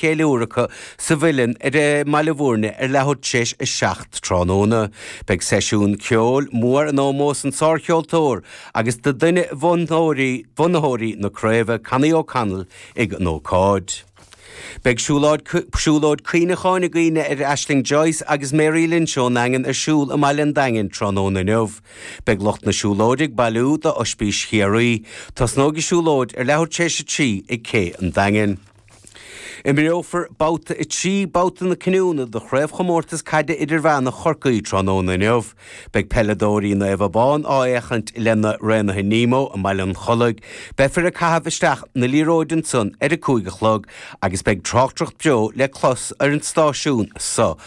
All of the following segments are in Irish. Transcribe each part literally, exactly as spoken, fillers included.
cheiliúradh acu sa Mhuileann ar i mBaile Bhúirne ar leathuair tar éis a seacht tráthnóna. Beidh seisiún ceoil mór in ómós an sárcheoltóir agus do duine bhunaitheoirí bunaitheoirí na craoibhe Connie O'Connell ag an ócáid. Beidh siúlóid siúlóid cuimhneacháin i gcuimhne ar Aisling Joyce agus Mary Lynch ón nDaingean ar siúl i mBaile an Daingin tráthnóna inniu. Beidh lucht na siúlóide ag bailiú do Ospís Chiarraí, Tosnóidh an siúlóid ar leathuair tar éis a trí ag Cé an Daingin. Imreofar babhta a trí babhta na cinniúna de chraobhchomórtas caide idirmheánach Chorcaí tráthnóna inniu. Beidh peileadóirí Naomh Abán á fhéachaint lena Raonaithe Nemo i mBaile an Chollaigh, Beifear ag caitheamh isteach na liathróide ansan ar a cúig a chlog agus beidh tráchtaireacht beo le clos ar an stáisiún seo.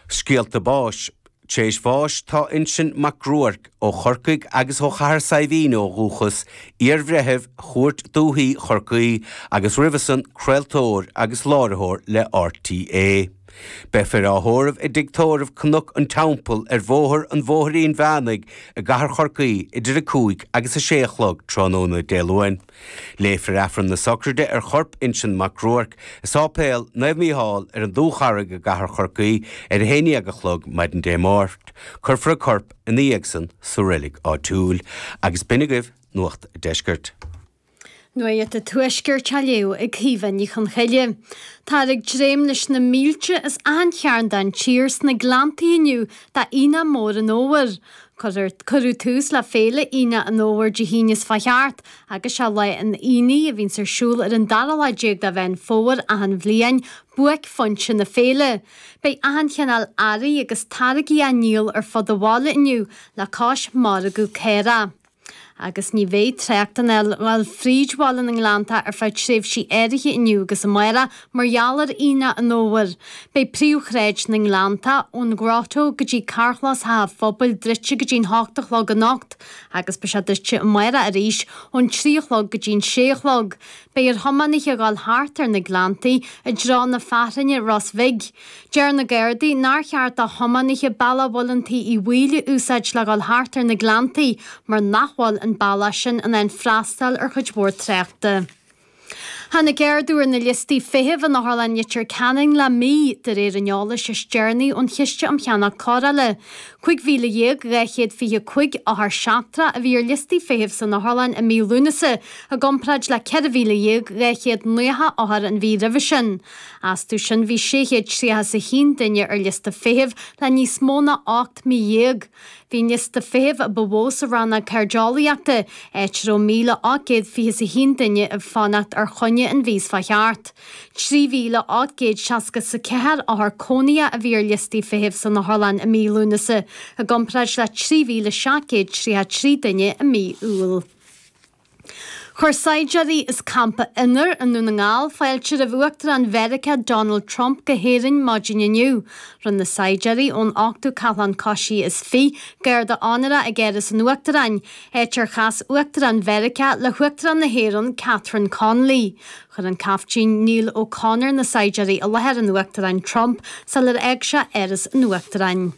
Scéalta báis. Tar éis bháis tá Uinseann Mac Ruairc ó Chorcaigh agus ó Chathair Saidhbhín ó dhúchas, iarbhreitheamh Chúirt Dúiche Chorcaí agus roimhe san craoltóir agus láithreoir le RTÉ. Beifear á thórramh i dTigh Tórraimh Cnoc an Teampaill ar bhóthar an Bhóithrín Mheánaigh i gCathair Chorcaí idir a cúig agus a sé a chlog tráthnóna Dé Luain. Léifear Aifreann na Sochraide ar chorp Uinseann Mac Ruairc i Sáipéal Naomh Mícheál ar an Dúcharraig i gCathair Chorcaí ar a haon déag a chlog maidin Dé Máirt. Cuirfear an corp ina dhiaidh san sa reilig áitiúil agus b'in agaibh Nuacht an Deiscirt. Nuacht an Tuaiscirt á léamh ag Caoimhe Ní Chonchoille. Táthar ag dréim leis na mílte as achan chearn den tír sna Gleanntaí inniu d'Aonach Mór an Fhómhair. Cuireadh tús le féile Aonach an Fhómhair Dé hAoine is fá cheart, agus sé lá an aonaigh a bhíonns ar siúl ar an dara lá déag de Mheán Fómhair achan bhliain, buaicphointe na féile. Beidh achan chineál earraí agus táirgí á ndíol ar fud an bhaile inniu le cois margadh caorach. Agus ní bheidh trácht in ann dul fríd bhaile na nGleanntach ar feadh tréimhsí áirithe inniu agus amárach mar gheall ar Aonach an Fhómhair. Beidh príomhshráid na nGleanntach ón Grotto go dtí carrchlós Theach an Phobail druidte go dtí'n hocht a chlog anocht agus beidh sé druidte amárach arís ón trí a chlog go dtí'n sé a chlog. Beidh ar thiománaithe dhul thart ar na Gleanntaí i dtreo na Fearthainne Ros Bhig. Deir na Gardaí nár cheart do thiománaithe bealach Mhuileann Tí Uí Bhaoill a úsáid le dhul thart ar na Gleanntaí mar nach bhfuil an bealach sin in ann freastal ar chuid mhór tráchta. Tháinig ardú ar na liostaí feithimh in Otharlann Leitir Ceanainn le mí, de réir an eolais is deireanaí ón Chiste um Cheannach Cóireála. Cúig mhíle dhéag dhá chéad fiche cúig othar seachtrach a bhí ar liostaí feithimh san otharlann i mí Lúnasa, i gcomparáid le ceithre mhíle dhéag dhá chéad nócha othar an mhí roimhe sin. Astu sin bhí sé chéad tríocha is a haon duine ar liosta feithimh le níos mó ná ocht mí dhéag. Bhí an liosta feithimh a ba mhó sa rannóg cairdeolaíochta, áit a raibh míle ocht gcéad fiche is a haon duine ag fanacht ar choinne an mhí is fá cheart. Trí mhíle ocht gcéad seasca is a ceathair othar cónaithe a bhí ar liostaí feithimh san otharlann i mí Lúnasa, i gcomparáid le trí mhíle seacht gcéad tríocha a trí duine i mí Iúil. Chuir saighdiúirí as Campa Inner i nDún na nGall fáilte roimh Uachtarán Mheiriceá Donald Trump go hÉirinn maidin inniu. Rinne na saighdiúirí ón ochtú Cathlán Coisí is Fiche garda onóra ag Áras an Uachtaráin, áit ar chas Uachtarán Mheiriceá le hUachtarán na hÉireann Catherine Connolly. Chuir an Caiftín Neil O'Connor na saighdiúirí i láthair an Uachtaráin Trump sular fhág sé Áras an Uachtaráin.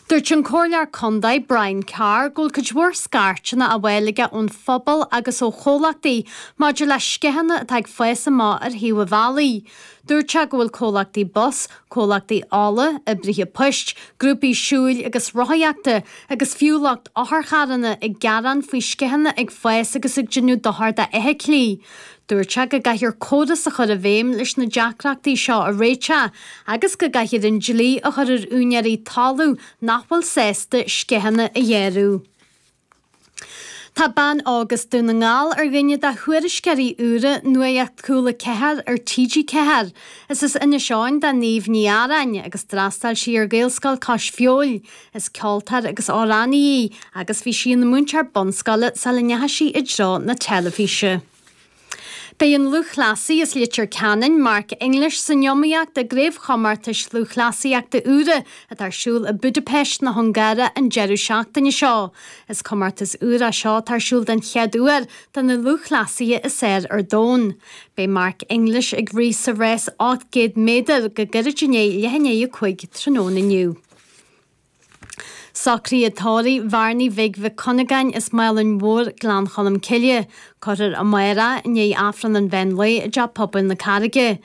Dúirt an Comhairleoir Contae Brian Carr go bhfuil cuid mhór scairteanna á bhfáil aige ón phobal agus ó chomhlachtaí maidir le sceitheanna atá ag fás amach ar thaobh an bhealaigh. Dúirt sé go bhfuil comhlachtaí bus, comhlachtaí ola, oibrithe poist, grúpaí siúil agus rothaíochta agus fiú lucht otharcharranna ag gearán faoi sceitheanna ag fás agus ag déanamh dochar d'fheithiclí. Dúirt sé go gcaithfear córas a chur i bhfeidhm leis na deacrachtaí seo a réiteach agus go gcaithfear an dlí a chur ar úinéirí talaimh nach bhfuil sásta sceitheanna a ghearradh. Tá bean óg as Dún na nGall ar dhuine de thuairisceoirí úra Nuacht Cúla Ceathair ar TG Ceathair. Is as Inis Eoghain do Niamh Ní Arráin agus d'fhreastail sí ar Ghaelscoil Cois Feabhail. Is ceoltóir agus amhránaí í agus bhí sí ina múinteoir bunscoile sula ndeachaigh sí i dtreo na teilifíse. Beidh an lúthchleasaí as Leitir Ceanainn, Mark English, san iomaíocht i gcraobhchomórtais lúthchleasaíochta úra atá ar siúl i Budapest na hUngáire an deireadh seachtaine seo. Is comórtas úr é seo atá ar siúl den chéad uair do na lúthchleasaithe is fearr ar domhan. Beidh Mark English ag rith sa rás ocht gcéad méadar go gairid i ndiaidh leath i ndiaidh a cúig tráthnóna inniu. Socruithe tórraimh Bhearnaí Bhig Mhic Cuinneagáin as Málainn Mhór, Gleann Cholm Cille. Cuirfear amárach i ndiaidh Aifreann an mheán lae i dTeach Pobail na Carraige.